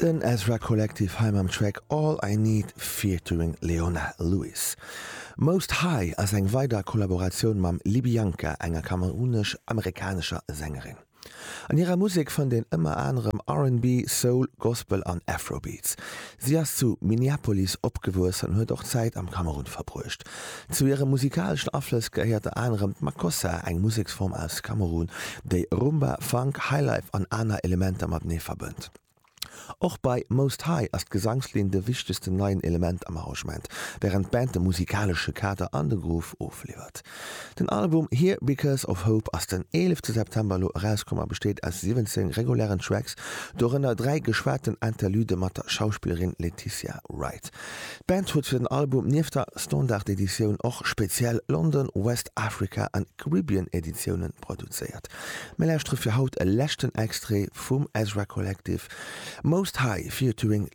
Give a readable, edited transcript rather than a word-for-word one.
Den Ezra Collective hei mam Track All I Need featuring Leona Lewis. Most High ass eng weider Kollaboratioun mam Libianca, enger kamerunesch-amerikanescher Sängerin. An hirer Musek fënnt een ëmmer anerem R&B, Soul, Gospel an Afrobeats. Si ass zu Minneapolis opgewuess an huet och Zäit am Kamerun verbruecht. Zu hire musikaleschen Aflëss gehéiert der anerem d'Makossa, eng Museksform aus Kamerun, déi Rumba, Funk, Highlife an aner Elementer matenee verbënnt. Och bei Most High ass d'Gesangslinn de wichtegsten neien Element am Arrangement, wärend d'Band de musikalesche Kader an de Groove ofliwwert. Den Album Here Because of Hope ass den 11 September elo erauskomm a besteet aus 17 regulären Tracks, dorënner 3 geschwaten Interlude mat der Schauspillerin Letitia Wright. D'Band huet fir den Album nieft der Standard-Editioun och speziell London, West Africa an Caribbean Editioune produzéiert. Mir lauschtere fir haut e leschten Extrait vum Ezra Collective, Most High featuring.